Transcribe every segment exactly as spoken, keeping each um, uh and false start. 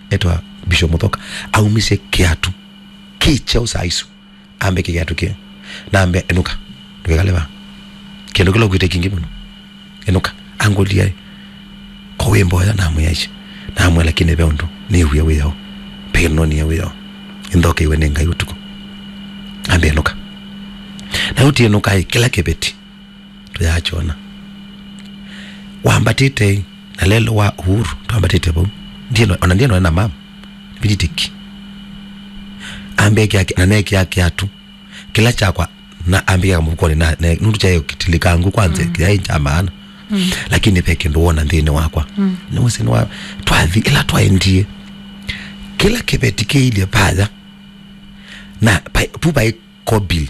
etwa Bishop Muthoka, aumisye kĩatũ kĩ kyeũ saa isu. Ambe kĩatũ kĩu. Na ambe, "Enũka. Ndũkekale vaa. Kĩndũ kĩla ũkwĩte kĩngĩ mũno. Enũka." Angũlya, "Ko wĩ mboya?" Namwĩa, "Ĩĩ." Namwĩa, "Lakini ve ũndũ nĩw'e wĩao. Ve kĩndũ nĩw'e wĩao. Nĩnthokeiwe nĩ Ngai ũtukũ." Ambe, "Enũka." Na ũtienũka ĩ, kĩla kĩveti tũyakyona. Wambatĩte na lelo wa Uhuru, twambatĩte vau. Ndieno, ona ndieno na mama. Nĩvitĩtĩki. Ambe kĩake, na nekĩa kĩatũ kĩla kyakwa, na ambĩkĩa kamũvukonĩ, na, na nũndũ kyaĩ kĩtilikangu kwanza, mm, kyaĩ kya maana. Mm. Lakini ve kĩndũ wona nthĩnĩ wakwa. Mm. Nĩwĩsĩ nĩwa, twathi, ĩla twaendie. Kĩla kĩveti kĩilye vaya. Na pai-, pu paĩ Kobil.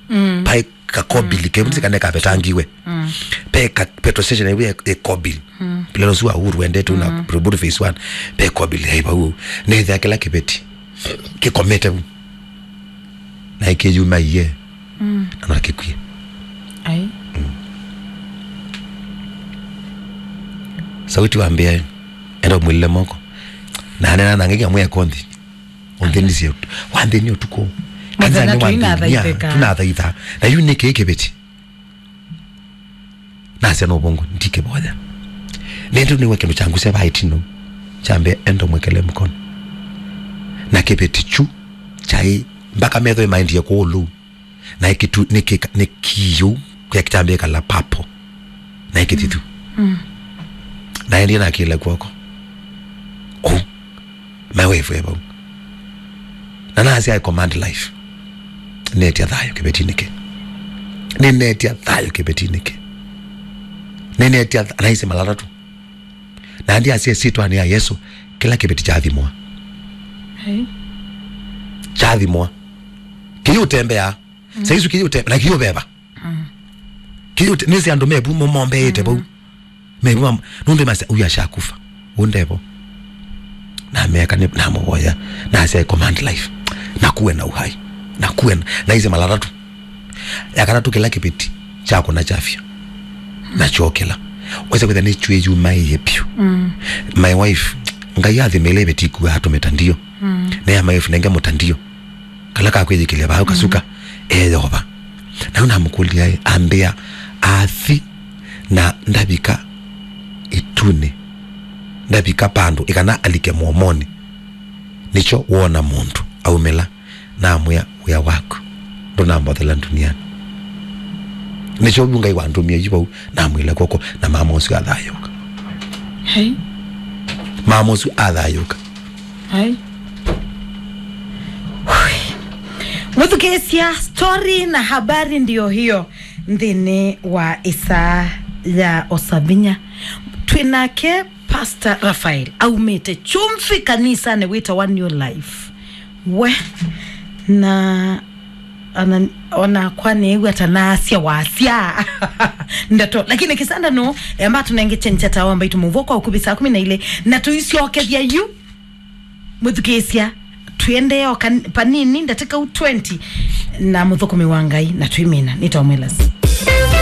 Mm. Paĩ ka Kobil, mm, ke mzika ne kavetangiwe. Mm. Pe ka petrol station ĩwe e Kobil. Mm. Pile no sua Uhuru wendete una, mm, Robot phase one. Pe Kobil, hei, vau. Nethĩa kĩla kĩveti kĩkomete vu. Na ĩkĩyuma iye. Mm. Na no kĩkwie. Ai. Mm. Sauti wambĩa, "Enda ũmwĩlĩle moko." Na anena na ngĩkĩa mwĩa konthi. Ũnthĩnisye ũtu-, wanthĩnie ũtukũ. Kanza nĩ wanthĩnia, tũinathaithĩka. Tũnathaitha. Na yu nĩ kĩĩ kĩveti? Nasya no vongo, ndikĩvoya. Nĩndũ nĩwe kĩndũ kyangusya vaa ĩtino. Kyambe enda mwekele mkono. Na kĩveti kyu kyaĩ, mpaka metho ĩmaendie kũũ lũu. Na ĩkĩtu-, nĩkĩka-, nĩkĩyũ, kĩa kĩtambĩa kala papo. Na ĩkĩthithu. Mm. Mm. Na endie nakĩla kwoko. Oh. My wife e vau. Na nasya, "I command life. Nĩnetia thayũ kĩvetinĩ kĩ. Nĩnetia thayũ kĩvetinĩ kĩ. Nĩnetia th-," naisĩ mala atatũ. Na ndi asya, "Syĩtwanĩ ya Yesũ, kĩla kĩveti kyathimwa." Hey. Kyathimwa. Kĩyũtembea. Mm. Saa isu kĩyũtembea, na kĩyũveva. Mm. Kĩyũte-, nĩsĩ andũ mevu mo-, mombeĩte vau. Mm. Mevu mam-, nũndũ masya, "Huyu ashakufa. Ũndevo." Na meka nĩ, namũvoya. Nasya, "I command life. Na kuwe na uhai. Na kuwe na," naisĩ mala atatũ. Ya katatũ kĩla kĩveti kyakũna kyafya. Na kyokĩla. Wesa kwĩtha nĩ kyũyumaĩie vyũ. Mm. My wife, Ngai athimĩle ĩveti ikuwa atũmĩta ndio. Mm. Na ya my wife nenge mũtandio. Kala ka kwĩyĩkĩlya vaa ũkasuka, mm, eyova. Na yu namũkũlya, ambĩa, athi na ndavika ĩtunĩ, ndavika vandũ, ĩkana alike mũomonĩ. Nĩkyo woona mũndũ aumĩla, namwĩa, "Wĩa waku ndũnambothela ndunianĩ." Nĩkyo vu Ngai wandũmie yu vau, namwĩla kw'oko, na mama ũsu athayũũka. Hey. Mama ũsu athayũũka. Ai. Mũthukĩĩsya, story na habari ndio hiyo nthĩnĩ wa ĩsaa ya Osavinya. Twĩ nake Pastor Raphael, aumĩte Chumvi kanisanĩ wĩtawa New Life. We, na ona, ona kwa nĩw'a ta nasya wasya ndeto, lakini kĩsanda no amba tũnenge chencha tawa mbaitu mũvwa kwa ũkuvĩ saa kũmi na ilĩ, na tũisyokethya yu. Mũthukĩĩsya, twĩendee o kan-, panini, ndatĩka u twenty, na mũthũkũmi wa Ngai, na twĩmina, nĩtawa Mwelasi.